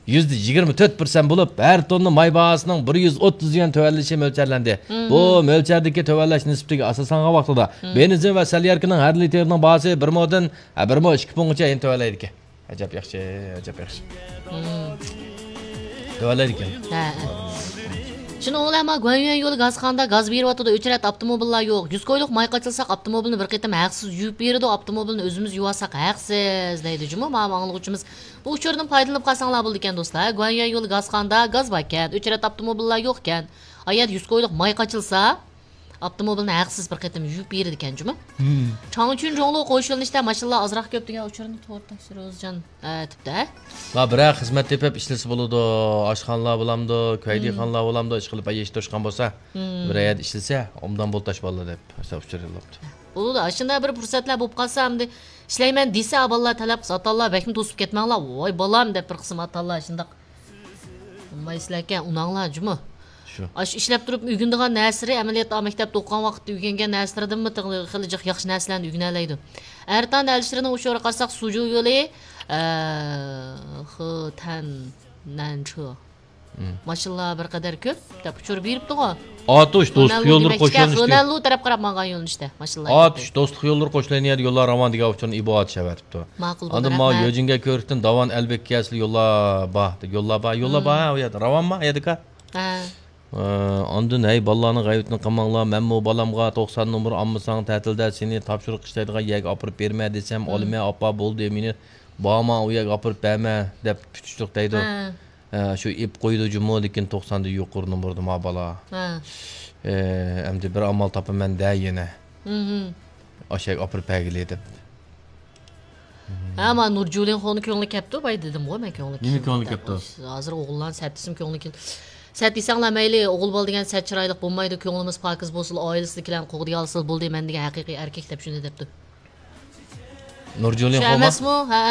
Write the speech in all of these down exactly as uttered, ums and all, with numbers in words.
يۈزدە يىگىرمە تۆت پىرسەنت بولۇپ، ھەر توننا ماي باھاسىنىڭ بىر يۈز ئوتتۇز يۈەن تۆۋەنلىشى مۆلچەرلەندى. بۇ مۆلچەردىكى تۆۋەنلەش نىسبىتىگە ئاساسلانغان ۋاقتىدا بېنزىن ۋە سەلياركىنىڭ ھەر لىتىرىنىڭ باھاسى بىر مودىن، ھە، بىر مو ئىككى پۇڭغىچە يەنە تۆۋەنلەيدىكەن. ئەجەب ياخشى، ئەجەب ياخشى. تۆۋەنلەيدىكەن. ھە، ھە. شۇنىڭ بىلەن ما گۇەنيۈەن يولى گازخانىدا گاز بېرىۋاتىدۇ، ئۆچرەت ئاپتوموبىللار يوق. يۈز كويلۇق ماي قاچىلىساق ئاپتوموبىلنى بىر قېتىم ھەقسىز يۇيۇپ بېرىدۇ، ئاپتوموبىلنى ئۆزىمىز يۇۋالساق ھەقسىز دەيدۇ جۇمۇ ما ئاڭلىغۇچىمىز. بۇ ئۇچۇردىن پايدىلىنىپ قالساڭلار بولىدىكەن دوستلار. گۇەنيۈەن يولى گازخانىدا گاز باركەن، ئۆچرەت ئاپتوموبىللار يوقكەن. ئايەت يۈز كويلۇق ماي قاچىلسا، ئاپتوموبىلنى ھەقسىز بىر قېتىم يۇيۇپ بېرىدىكەن جۇمۇ. چاڭچۈن جوڭلۇ قوش يۆنىلىشتە ماشىنىلار ئازراق كۆپ دېگەن ئۇچۇرنى تورتتا سىروزجان ئەتىپتە. ما بىرەر خىزمەت تېپىپ ئىشلىسە بولىدۇ. ئاشخانىلار بولامدۇ، كۆيدىخانىلار بولامدۇ، ئىشقىلىپ يېتىشتۈرۈشكەن بولسا، بىرەر يەردە ئىشلىسە، ئوبدان بولتاش بالىلار دەپ، مەسىلەن، ئۇچۇر يوللاپتۇ. بولىدۇ، ئاشۇنداق بىر پۇرسەتلەر بولۇپ قالسا، ئەمدى ئىشلەيمەن دېسە، بالىلار تەلەپ قىلسا، ئاتا-ئانىلار بەكمۇ توسۇپ كەتمەڭلار، ۋاي بالام دەپ بىر قىسىم ئاتا-ئانىلار شۇنداق. ئۇنىمايسىلەركەن، ئۇناڭلار جۇمۇ. شۇ. ئاشۇ ئىشلەپ تۇرۇپ ئۆگىنىدىغان نەرسىلىرى، ئەمەلىيەتتە مەكتەپتە ئوقۇغان ۋاقىتتا ئۆگەنگەن نەرسىلىرىدىنمۇ تېخى خېلى جىق ياخشى نەرسىلەرنى ئۆگىنەلەيدۇ. ئەرتان ئەلىشىرنىڭ ئۇچۇرىغا قارىساق، سۇجۇ يولى، ئە، خېتەن نەنچۇ. ماشىنىلار بىر قەدەر كۆپ دەپ ئۇچۇر بېرىپتىغۇ. ئاتۇش، دوستلۇق يوللىرى قوشۇلۇش دېگەن. خېنەنلۇ تەرەپ قاراپ ماڭغان يۆنىلىشتە ماشىنىلار. ئاتۇش، دوستلۇق يوللىرى قوشۇلىدىغان يەردە يوللار راۋان دېگەن ئۇچۇرنى ئىبو ئاتۇش ئەۋەتىپتۇ. ماقۇل بولدى، ئاندىن ماۋۇ رەھمەت. يۆجىنگە كۆۋرۈكتىن داۋان ئەلبېككە كەلسىلا يوللار بار، يوللار بار، يوللار بار، ھە، ئۇ يەردە راۋانما، ھە، دېكا؟ ھە. ئە، ئاندىن، ھەي، بالىلارنىڭ غەيۋىتىنى قىلماڭلار، مەنمۇ بالامغا توقسان نومۇر ئالمىساڭ، تەتىلدە سېنى تاپشۇرۇق ئىشلەيدىغان يەرگە ئاپىرىپ بېرىمەن دېسەم، ئالىمەن، ئاپا، بولدى، مېنى بارما، ئۇ يەرگە ئاپىرىپ بەرمە، دەپ پۈتۈشلۈك دەيدۇ. ھە. ھە، شۇ ئېپ قويىدۇ جۇمۇ، لېكىن توقساندىن يۇقىرى نومۇردا ما بالا. ھە. ئە، ئەمدى بىر ئامال تاپىمەن دە يەنە. ئاشۇ يەرگە ئاپىرىپ بەرگىلى دەپ. ھە، ما نۇرجۇلىنخونىڭ كۆڭلى كەپتۇ، باي دېدىمغۇ مەن كۆڭلى. نېمە كۆڭلى كەپتۇ؟ ھازىر ئوغۇللارنى سەت دېسىم كۆڭلى كېلىدۇ. سەت دېسەڭلار مەيلى، ئوغۇل بالا دېگەن سەت چىرايلىق بولمايدۇ، كۆڭلىمىز پاكىز بولسىلا، ئائىلىسىدىكىلەرنى قوغدىيالىسىلا بولدى، مەن دېگەن ھەقىقىي ئەركەك دەپ شۇنى دەپتۇ. نۇرجۇلىن شۇ خوما؟ ئەمەسمۇ؟ ھە.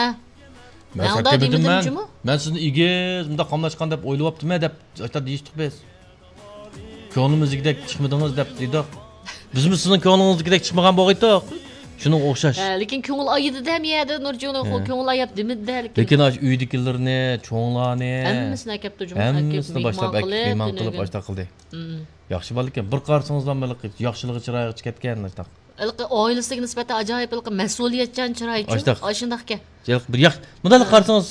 مەن مەن ئۇنداق سەت دېمىدىم دېمىدىم مەن. جۇمۇ. مەن سىزنى ئېگىز مۇنداق قاملاشقان دەپ ئويلىۋاپتىمەن دەپ ئاشتا دېيىشتۇق بىز. كۆڭلىمىزدىكىدەك چىقمىدىڭىز دەپ دېدۇق. بىزمۇ سىزنىڭ كۆڭلىڭىزدىكىدەك چىقمىغان بولغايتۇق. شۇنىڭغا ئوخشاش. ھە، لېكىن كۆڭۈل ئايىدىدە ھەم يەردە نۇرجۇلىن خو-، ھە. كۆڭۈل ئاياپ دېمىدىدە لېكىن. لېكىن ئاشۇ ئۆيدىكىلىرىنى، چوڭلارنى، ھەممىسىنى ئەكەپتۇ جۇمۇ، ئەكەپ ھەممىسىنى باشلاپ مېھمان ئەكەپ، قىلىپ، مېھمان قىلىپ تۈنۈگۈن. ئاشتا قىلدى. مم. ياخشى بالا ئىكەن. بىر قارىسىڭىزلا مېلىقى ياخشىلىقى چىرايىغا چىقىپ كەتكەن ئاشتا. ھېلىقى ئائىلىسىگە نىسبەتەن ئاجايىپ ھېلىقى مەسئۇلىيەتچان چىرايچۇ. ئاشتاق. ئاشۇنداقكەن. ھېلىقى بىر ياخ-، مۇنداقلا ھە. قارىسىڭىز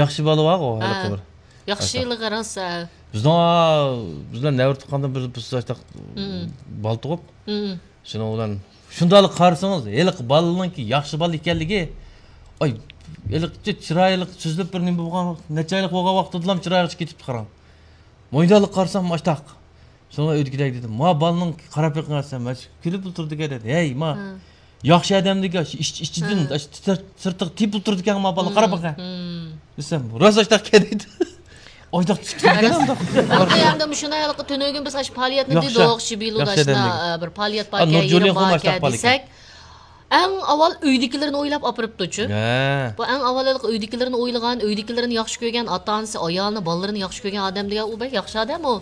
ياخشى بالا بارغۇ، ھە. ھېلىقى بىر. ياخشىلىقى راست، ھە. بىزنىڭ، بىز بىلەن نەۋرە تۇغقاندىن بىر، بىز ئاشتاق مم. بالا تۇغۇپ. مم. شۇنىڭ بىلەن شۇنداقلا قارىسىڭىز، ھېلىقى بالىنىڭكى ياخشى بالا ئىكەنلىكى، ئاي، ھېلىقى چىرايلىق سۆزلەپ بىر نېمە بولغان، نەچچە ئايلىق بولغان ۋاقتىدىلا چىرايىغا كېتىپتۇ قاراڭ. مۇنداقلا قارىسام ئاشتاق. شۇڭا ئۆيدىكىدەك دېدىم، ما بالىنىڭ قاراپ بېقىڭ دېسەم، كۈلۈپ ئولتۇردىكەن دېدى. ھەي، ما، ھە. ياخشى ئادەمدىكى ئىچ-، ئىچىدىن ھە. ئاشۇ تىتر-، سىرتىغا تېپىپ ئولتۇردىكەن ما بالا، قاراپ بېقىڭ دېسەم، راست ئاشتاق ئىكەن دېدى. ئاشتاق تۇتۇپ كەتكەن ئاشتاق. ھەمدە مۇشۇنى ھېلىقى تۈنۈگۈن بىز ئاشۇ پائالىيەتنى دېدۇق، شىبىلۇدا شۇنداق، ئە، بىر پائالىيەت باركەن، يىغىن باركەن دېسەك. ئەڭ ئاۋۋال ئۆيدىكىلىرىنى ئويلاپ ئاپىرىپتۇچۇ. ھە. بۇ ئەڭ ئاۋۋال ھېلىقى ئۆيدىكىلىرىنى ئويلىغان، ئۆيدىكىلىرىنى ياخشى كۆرگەن، ئاتا-ئانىسى، ئايالىنى، بالىلىرىنى ياخشى كۆرگەن ئادەم دېگەن ئۇ بەك ياخشى ئادەم ئۇ.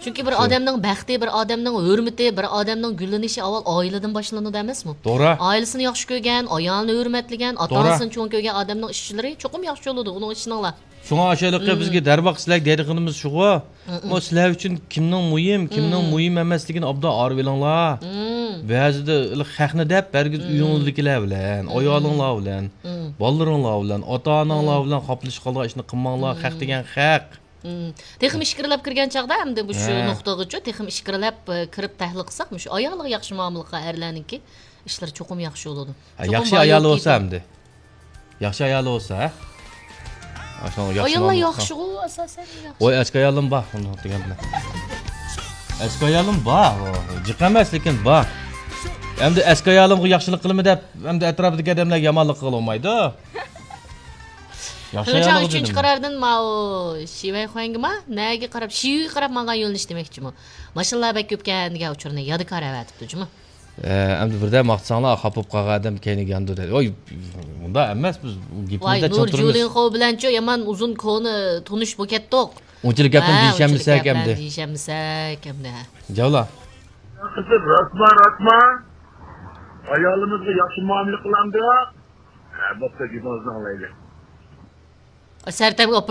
چۈنكى بىر شۇ. ئادەمنىڭ بەختى، بىر ئادەمنىڭ ھۆرمىتى، بىر ئادەمنىڭ گۈللىنىشى ئاۋۋال ئائىلىدىن باشلىنىدۇ ئەمەسمۇ؟ توغرا. ئائىلىسىنى ياخشى كۆرگەن، ئايالىنى ھۆرمەتلىگەن، توغرا. ئاتا-ئانىسىنى چوڭ كۆرگەن ئادەمنىڭ ئىشلىرى چوقۇم ياخشى بولىدۇ، ئۇنىڭ ئىشىنىڭلار. شۇڭا ئاشۇ ھېلىقى مم. بىزگە دەرۋاقىت سىلەرگە دەيدىغىنىمىز شۇغۇ. مم. ئۇ سىلەر ئۈچۈن كىمنىڭ مۇھىم، كىمنىڭ مم. مۇھىم ئەمەسلىكىنى ئوبدان ئايرىۋېلىڭلار. مم. بەزىدە ھېلىقى خەقنى دەپ ھەرگىز مم. ئۆيىڭىزدىكىلەر بىلەن، مم. ئايالىڭلار بىلەن، مم. بالىلىرىڭلار بىلەن، ئاتا-ئاناڭلار مم. بىلەن خاپىلىشىپ قالىدىغان ئىشنى قىلماڭلار، مم. خەق دېگەن خەق. مم. تېخىمۇ ئىچكىرىلەپ كىرگەن چاغدا ئەمدى مۇشۇ ھە. نۇقتىغىچۇ، تېخىمۇ ئىچكىرىلەپ، ئە، كىرىپ تەھلىل قىلساق، مۇشۇ ئايالىغا ياخشى مۇئامىلە قىلغان ئەرلەرنىڭكى ئىشلىرى چوقۇم ياخشى بولىدۇ. ھە، چوقۇم ياخشى ئايالى بولسا ئەمدى. ياخشى ئايالى بولسا، ھە؟ ئاشۇنىڭغا ياخشى ئاياللار مۇئامىلە قىلسا. ياخشىغۇ ئاساسەن ياخشى. ۋاي، ئەسكى ئايالىم بار، ئۇنى دېگەن بىلەن. ئەسكى ئايالىم بار، جىق ئەمەس، لېكىن بار. ئەمدى ئەسكى ئايالىمغا ياخشىلىق قىلىمەن دەپ، ئەمدى ئەتراپىدىكى ئادەملەرگە يامانلىق قىلغىلى بولمايدۇ. ياخشى خېلى چاغ ئايالىغا ئۈچىنچى دېدىم. قارارىدىن ماۋۇ شىۋەي خۇەنگىما نەگە قاراپ، شىۋىگە قاراپ ماڭغان يۆنىلىش دېمەكچىمۇ. ماشىنىلار بەك كۆپكەن دېگەن ئۇچۇرنى يادىكار ئەۋەتىپتۇ جۇمۇ. ئە، ئەمدى بىردەم ماختىساڭلار، خاپا بولۇپ قالغان ئادەم كەينىگە يانىدۇ دەيدۇ. ۋاي، مۇنداق ئەمەس، بىز گېپىمىزدە چىڭ تۇرىمىز. ۋاي، نۇرجۇلىنخو بىلەنچۇ يامان ئۇزۇن كونا تونۇش بولۇپ كەتتۇق. ئۇنچىلىك گەپنى ھە، دېيىشەلمىسەك ئەمدى. دېيىشەلمىسەك ئەمدى. جاۋلا. قىزىم، راستما، راستما؟ ئايالىمىزغا ياخشى مۇئامىلە قىلامدۇ؟ ھە، بوپتۇ، گېپىڭىزنى ئاڭلايلى. سەرتەمگە